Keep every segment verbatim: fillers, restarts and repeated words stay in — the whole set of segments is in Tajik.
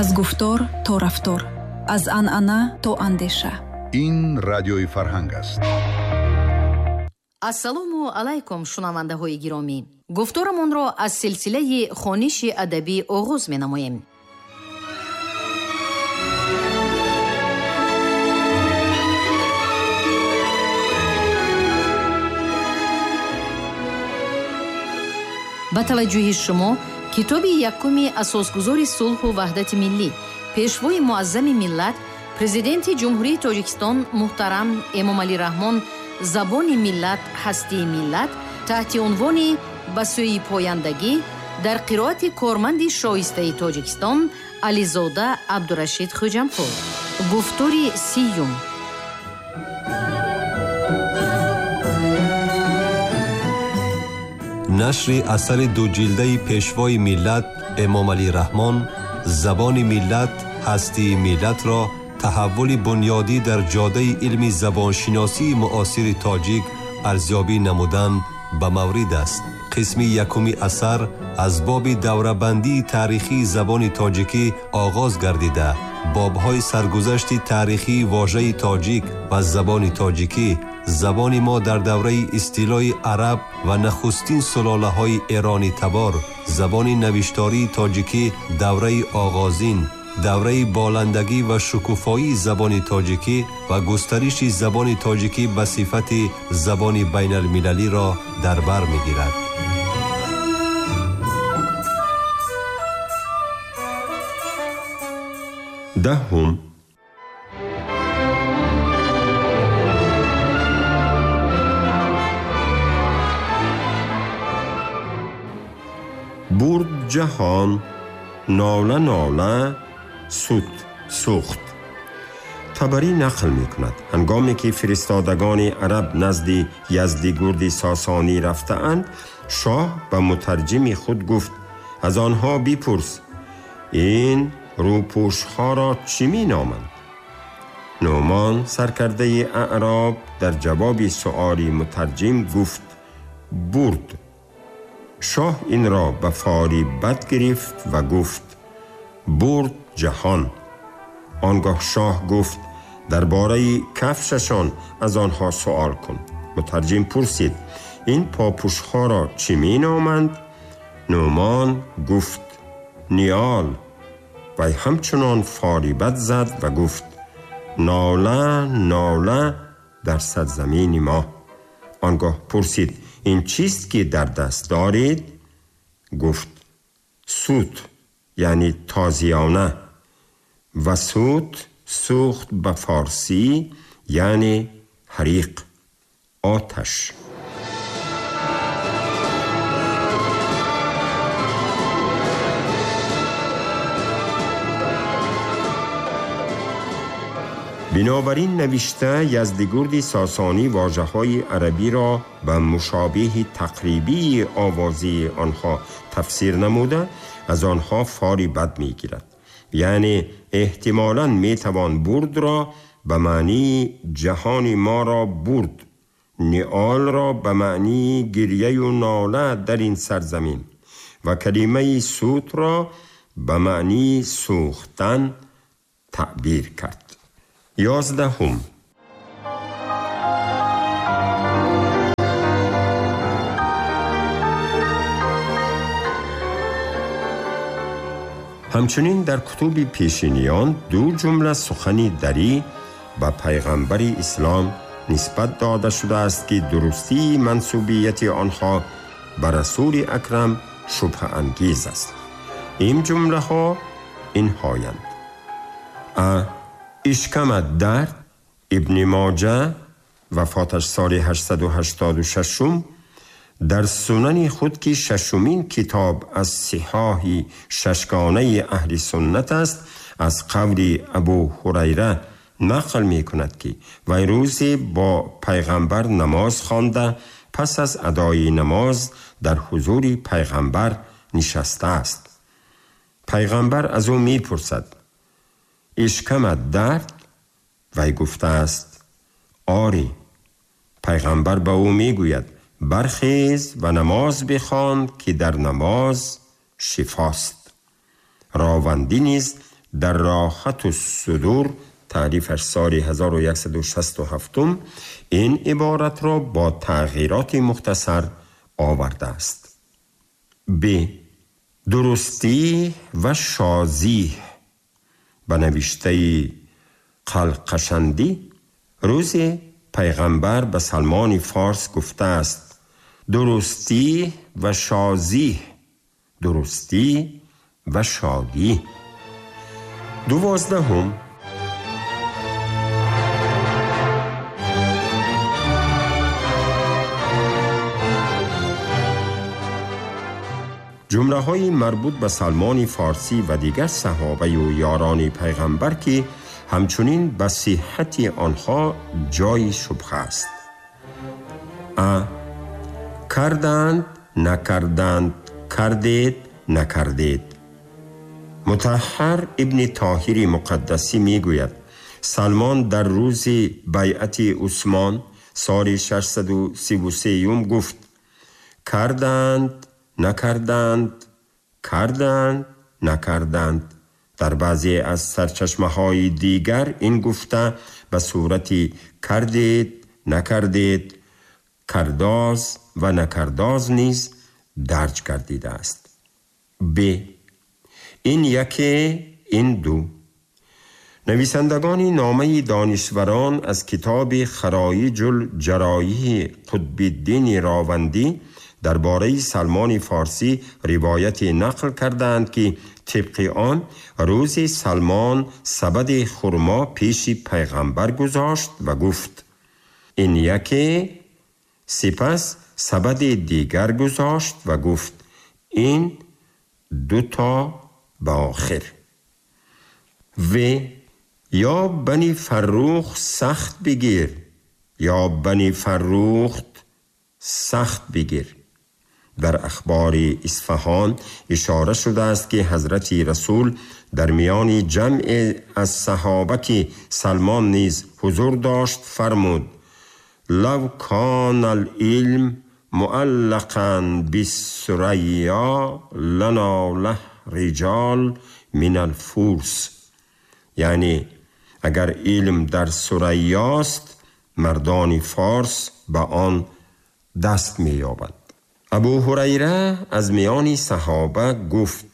Аз гуфтор то рафтор, аз анъана то андеша. Ин радиои Фарҳанг аст. Ассалому алайкум, шунавандаҳои гиромӣ. Гуфторамонро аз силсилаи хониши адабӣ оғоз менамоем. Ба таваҷҷӯҳи шумо китоби якуми асосгузори сулҳу ваҳдати миллӣ, пешвои муаззами миллат, президенти Ҷумҳурии Тоҷикистон муҳтарам Эмомалӣ Раҳмон «Забони миллат, ҳастии миллат» таҳти унвони «Ба сӯи пояндагӣ» дар қироати корманди шоистаи Тоҷикистон Ализода Абдурашид Хӯҷампур. Гуфтори сиюм. Нашри асари дуҷилдаи пешвои миллат Эмомалӣ Раҳмон «Забони миллат, ҳастии миллат»-ро таҳаввули бунёдӣ дар ҷодаи илми забоншиносии муосири тоҷик арзёбӣ намудан ба маврид аст. Қисми якуми асар аз боби даврабандии таърихии забони тоҷикӣ оғоз гардида, бобҳои саргузашти таърихии вожаи тоҷик ва забони тоҷикӣ, забони мо дар давраи истилои араб ва нахустин сулолаҳои эронӣ табор, забони навиштарии тоҷикӣ давраи оғозин, давраи боландагӣ ва шукуфоии забони тоҷикӣ ва густариши забони тоҷикӣ ба сифати забони байналмилалиро дар бар мегирад. Даҳум. Бурд ҷаҳон, нола нола, суд сӯхт. Табарӣ нақл мекунад, ҳангоме ки фиристодагони араб назди Яздигурди Сосонӣ рафтаанд, шоҳ ба мутарҷими худ гуфт: аз онҳо бипурс, ин рӯпӯшҳоро чӣ меноманд? Нӯмон, саркардаи аъроб, дар ҷавоби суоли мутарҷим гуфт: бурд. Шоҳ инро ба фоли бад гирифт ва гуфт: бурд ҷаҳон. Он гоҳ шоҳ гуфт: дар бораи кафшашон аз онҳо суол кун. Мутарҷим пурсид: ин попӯшҳоро чӣ меноманд? Нӯмон гуфт: ниёл. Вай ҳамчунон фоли бад зад ва гуфт: нола нола дар сарзамини мо. Он гоҳ пурсид: ин чист ки дар даст доред? Гуфт: сут, яъне тозиёна, ва сут сӯхт ба форсӣ яъне ҳариқ, оташ. Бинобар ин навишта Яздигурди Сосонӣ вожаҳои арабиро ба мушобиҳи тақрибии овозии онҳо тафсир намуда, аз онҳо фоли бад мегирад. Яъне эҳтимолан метавон бурдро ба маънии ҷаҳони моро бурд, ниолро ба маънии гиряю нола дар ин сарзамин ва калимаи сутро ба маънии сӯхтан таъбир кард. Ёздаҳум. Ҳамчунин дар кутуби пешиниён ду ҷумла сухани дарӣ ба пайғамбари ислом нисбат дода шудааст, ки дурустии мансубияти онҳо ба расули акрам шубҳаангез аст. Ин ҷумлаҳо инҳоянд: а ишкамат дард, Ибни Моҷа, вафоташ соли ҳаштсаду ҳаштоду шашум, дар сунани худ, ки шашумин китоб аз сиҳоҳи шашгонаи аҳли суннат аст, аз қавли Абу Ҳурайра нақл мекунад, ки вай рӯзе бо пайғамбар намоз хонда, пас аз адои намоз дар ҳузури пайғамбар нишастааст. Пайғамбар аз ӯ мепурсад: ишкамат дард? Вай гуфтааст: оре. Пайғамбар ба ӯ мегӯяд: бархез ва намоз бихон, ки дар намоз шифост. Ровандӣ низ در راحت الصدور تعریفش سال هزار و صد و شصت و هفت این عبارت را با تغییرات مختصر آورده است. ب. درستی و شازی به نوشته قلقشندی روز پیغمبر به سلمان فارس گفته است درستی و شازی، درستی و شادی. دوازدهم، جمله های مربوط به سلمان فارسی و دیگر صحابه و یاران پیغمبر که همچنین به صحت آنها جای شبهه است. ا. کردند، نکردند، کردید، نکردید. مطهر ابن طاهر مقدسی میگوید سلمان در روز بیعت عثمان سال ششصد و سی و سه گفت کردند، نکردند، کردند، نکردند. در بعضی از سرچشمه های دیگر این گفته به صورت کردید، نکردید، کرداز و نکرداز نیز درج گردیده است. ب. این یکی، این دو. نویسندگان نامه دانشوران از کتاب خرایج الجرایح قطب الدین راوندی درباره سلمان فارسی روایت نقل کردند که طبق آن روز سلمان سبد خرما پیش پیغمبر گذاشت و گفت این یکی، سپس سبد دیگر گذاشت و گفت این دو تا به آخر. و یا بنی فروخ سخت بگیر، یا بنی فروخت سخت بگیر. در اخبار اصفهان اشاره شده است که حضرت رسول در میان جمع از صحابه که سلمان نیز حضور داشت فرمود لو کان العلم معلقا بالثریا لناله رجال من الفرس، یعنی اگر علم در ثریاست مردان فارس به آن دست می‌یابند. ابو هریره از میان صحابه گفت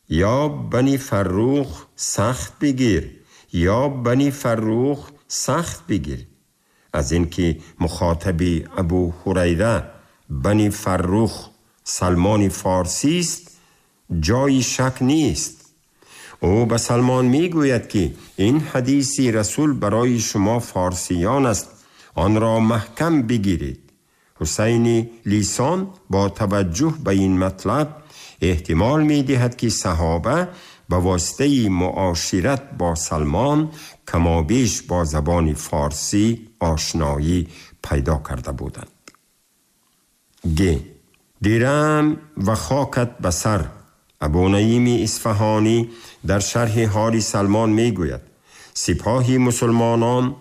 یا بنی فروخ سخت بگیر، یا بنی فروخ سخت بگیر. از اینکه مخاطب ابو هریره بنی فروخ سلمان فارسی است جای شک نیست. او به سلمان میگوید که این حدیث رسول برای شما فارسیان است، آن را محکم بگیرید. حسین لیسان با توجه به این مطلب احتمال می دهد که صحابه به واسطه معاشرت با سلمان کمابیش با زبان فارسی آشنایی پیدا کرده بودند. گ. دیرم و خاکت به سر. ابو نعیم اصفهانی در شرح حال سلمان می گوید سپاه مسلمانان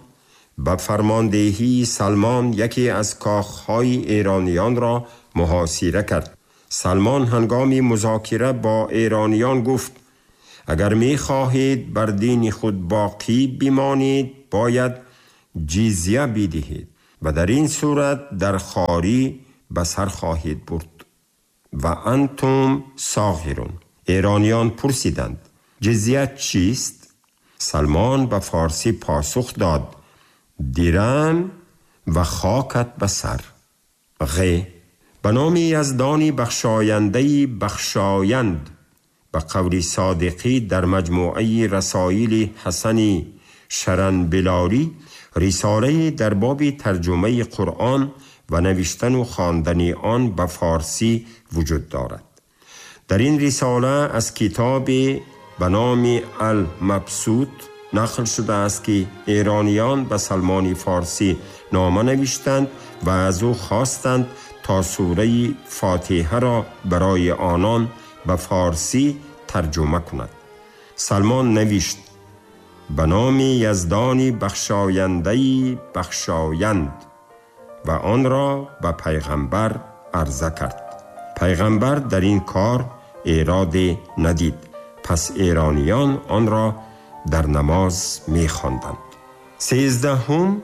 به فرماندهی سلمان یکی از کاخهای ایرانیان را محاصره کرد. سلمان هنگام مذاکره با ایرانیان گفت اگر می خواهید بر دین خود باقی بمانید باید جزیه بدهید و در این صورت در خواری به سر خواهید برد. و انتم صاغرون. ایرانیان پرسیدند جزیه چیست؟ سلمان به فارسی پاسخ داد دیرم و خاکت به سر. غ. به نام یزدانی بخشایندهی بخشایند. به قول صادقی در مجموعه رسائل حسن شرنبلاری رساله در باب ترجمه قرآن و نوشتن و خواندن آن به فارسی وجود دارد. در این رساله از کتاب به نام المبسوط نقل شده است که ایرانیان به سلمان فارسی نامه نوشتند و از او خواستند تا سوره فاتحه را برای آنان به فارسی ترجمه کند. سلمان نوشت به نام یزدانی بخشایندهی بخشایند و آن را به پیغمبر عرضه کرد. پیغمبر در این کار ایراد ندید Пас эрониён онро дар намоз мехонданд. Сездаҳум,